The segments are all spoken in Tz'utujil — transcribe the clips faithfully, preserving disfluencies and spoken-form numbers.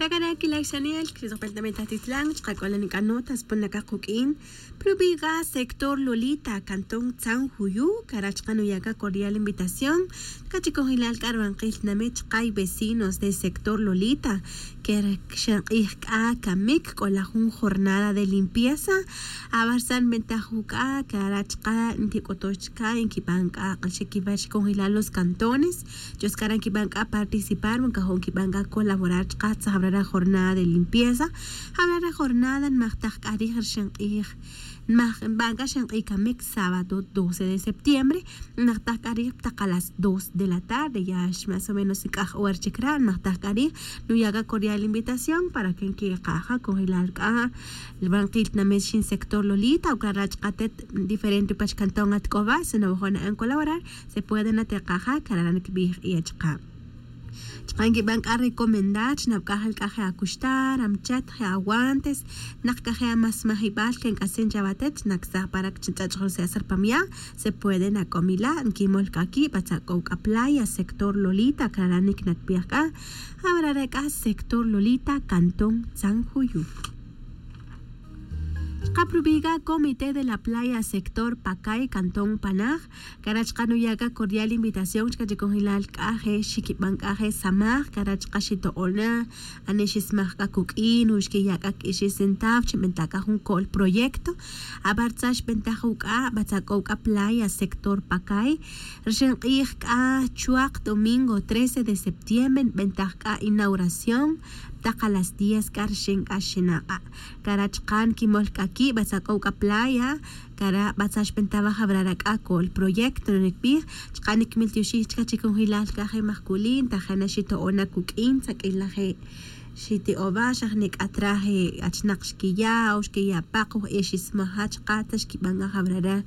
Rakana kilaxanel kirisokpel también tatitlan chqak'olan k'a notas pon naka quk'in. Prubiga sector lolita cantón tzan juyu kara' chqan uyaka cordial invitación. Kachikon jilal k'a rubanqil tnamit chqa' vecinos de sector lolita ker xenq'ij k'a kamik k'ola jun jornada de limpieza. Abarsan bentaj juk'a' kara' chqa' nkik'otox chka' nkiban k'a q'alxik kiwach kon jilal los cantones. Chos kara' nkiban k'a participar wan kajo' nkiban k'a colaborar chqa' tzaj abra ra jornada de limpieza. Abra ra jornada nmajtaj k'a rij rixin q'ij nmaj nban k'a xinq'ij kamik sábado doce de septiembre. Nmajtaj k'a rij taq a las dos de la tarde ya más o menos nk'aj hora chik ra' nmajtaj k'a rij. Nuya' k'a cordial invitación para que nkiqaja kon jilal k'a rbanqil tnamit xin sector lolita o kara' chqa' tet diferente pach cantón atk'oba si nawajo' na'an colaborar se puede nateqaja kara' nikbij ya chqa'. Chqa' nkiban k'a recomendar chi nabk'aj el k'a je' akuxtar amchat je' aguantes. Naq k'a je' amasmajibal ke nk'asin chawatet chi naksaj para chi nch'ach'oj ruse'as rpamya. Se puede nak'omila' nkimol k'a ki' batzak'ow k'a playa sector lolita kara' niknakbij k'a. Awarara' k'a sector lolita cantón tzan juyu. Chqa' prubiga comité de la playa sector pakay cantón panaj. Kara' chqa' nuya' k'a cordial invitación chka' chikonjilal k'a je' xikiban k'a je' samaj kara' chqa' xito'ona. Ane xismaj k'a kuk'in o xkiya' k'a k'ixi centavo chi nbenta' k'a jun ko'l proyecto. Abartza xbentaj uk'a' batzak'ow k'a playa sector pakay. Rixin q'ij k'a chuwaq domingo trece de septiembre nbentaj k'a inauguración. Taq a las diez k'a rixin k'a xinaq'a'. Kara' chqa' nkimol k'a ki' batzak'ow k'a playa. Kara' batzach penta waj awarara' k'a ko'l proyecto nikbij. Chqa' nikmil tioxij chka' chikonjilal k'a je' majkulin tajana xito'ona kuk'in tzak'ila je' xiti'owa xaj nik'atra je' achnaq xkiya' o xkiya' paq o je' xismaja chqa' ta xkiban k'a awarara'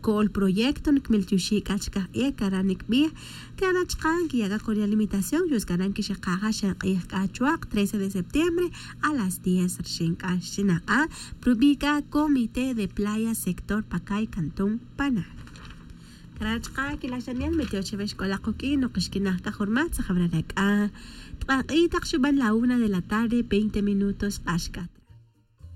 ko'l proyecto nikmil tioxij k'a chka' je' kara' nikbij. Kara' chqa' nkiya' k'a cordial invitación yos kara' nkixikaja xan q'ij k'a chuwaq trece de septiembre a las diez rixin k'a xinaq'a'. Prubi' k'a comité de playa sector pakay cantón panaj. Kara' chqa' kilaxanel mitiox chawe xk'ola quk'in noq xkinaj k'a jurmat tzaj awarara' k'a. Tq'aq'i' taq xuban la una de la tarde veinte minutos q'axk'at.